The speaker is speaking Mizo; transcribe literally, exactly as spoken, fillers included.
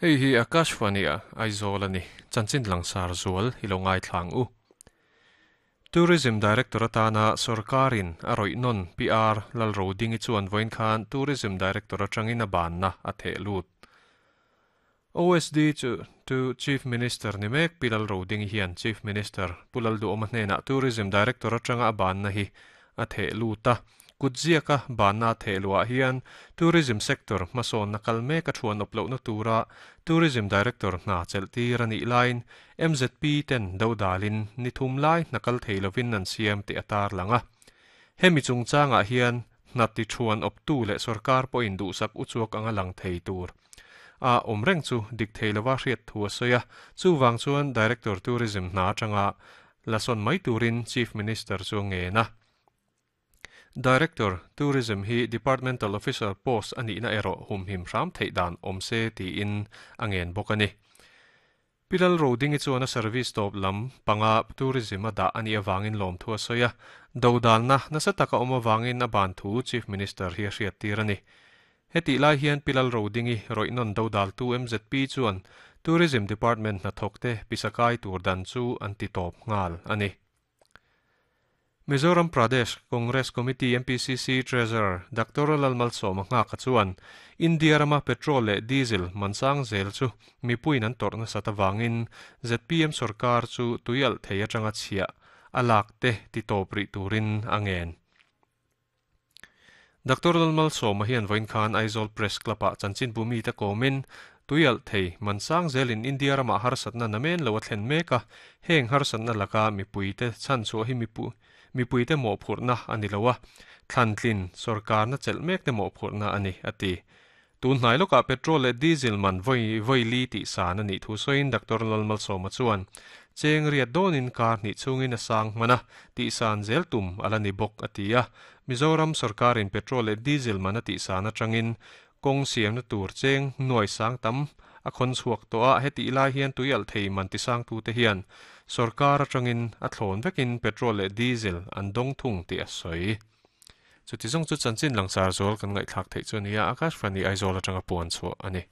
Hei hi Akashvani a Aizawl ani chanchin langsar zual hi lo ngai thlang u. Tourism Director atana sarkarin a roihnon P R Lalrodingi chuan vawiin khan Tourism Director atangin a banna a theh lut. O S D chu to Chief Minister ni mek Pi Lalrodingi hian Chief Minister Pu Lalduhawma hnenah Tourism Director atanga a banna hi a theh lut a. Kutziaka banna theh luah hian Tourism Sector hmasawn na kal mek a thuan awp lohna tura Tourism Director hna chelhtir a nih laiin M Z P ten do dalin ni thum lai hna kal thei lovin an siam tih a tar lang a. Hemi chungchangah hian hna ti thuan awp tu leh sarkar pawhin duhsak uchuak anga lang thei tur. A awm reng chu dik thei lova hriat thu a sawi a, chuwang chuan Director Tourism hna atanga lasawn mai turin Chief Minister chu nge na. Director Tourism hi Departmental Officer post ani na ero humhim hram thei dan awm se tiin a ngen bawk ani. Pi Lalrodingi chuan a service tawp lam panga tourism a dah ani awangin lawm thu a sawi a, do dalna nasa taka awm awangin a ban thu Chief Minister hi a hriat tir ani. Heti lai hian Pi Lalrodingi roihnon do dal tu M Z P chuan Tourism Department hna thawk te pisakai tur dan chu an ti tawp nghal ani. Mizoram Pradesh Congress Committee M P C C Treasurer Doctor Lalmalsawma Nghaka chuan India rama petrol leh diesel mansang zel chu mipuiin an tawrhna sat awangin Z P M sarkar chu tuialh thei atanga chhiah a lak te ti tawp rih turin a ngen. Doctor Lalmalsawma hian vawiin khan Aizawl Press Club ah chanchin bumi te kawmin tuialh thei mansang zelin India rama harsatna namen lo a thlen mek a, heng harsatna laka mipui te chan chhuah hi mipu mipui te mawh phurhna ani lo a, thlantlin sarkar na chelh mek te mawh phurhna ani a ti. Tun hnai lawkah petrol leh diesel man vawi vawi li tih san ani thu sawiin Doctor Lalmalsawma chuan cheng riat dawnin kar hnih chungin a sang hman a, tih san zel tum ala ni bawk a ti a. Mizoram sarkarin petrol leh diesel man a tih san atangin kawng siamna tur cheng nuai sang tam a khawn chhuak tawh a, heti lai hian tuialh thei man ti sang tu te hian sarkar atangin a thlawn vekin petrol leh diesel an dawng thung tih a sawi. Chuti zawng chu chanchin langsar zawl kan ngaihthlak theih chu ania Akashvani Aizawl atanga puan chhuah ani.